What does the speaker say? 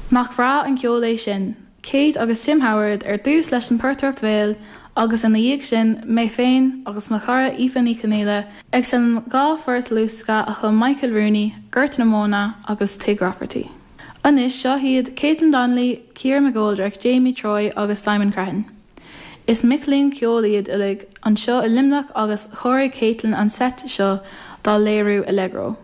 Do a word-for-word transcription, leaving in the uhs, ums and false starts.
Nach breá an ceol é sin, Kate agus Tim Howard ar dtús leis an portaireacht bhéil agus ina dhiaidh sin mé féin agus mo chara Aoife Ní Chonaola ag seinm dhá phort luasctha a chum Michael Rooney, Gort na Móna agus Tigh Roperty. Anois seo hiad Caitlin Donnelly, Ciara McGoldrick, Jamie Troy agus Simon Crehan. Is mic léinn ceoil iad uilig anseo i Luimneach agus chóirigh Caitlin an set seo dá léiriú Allegro.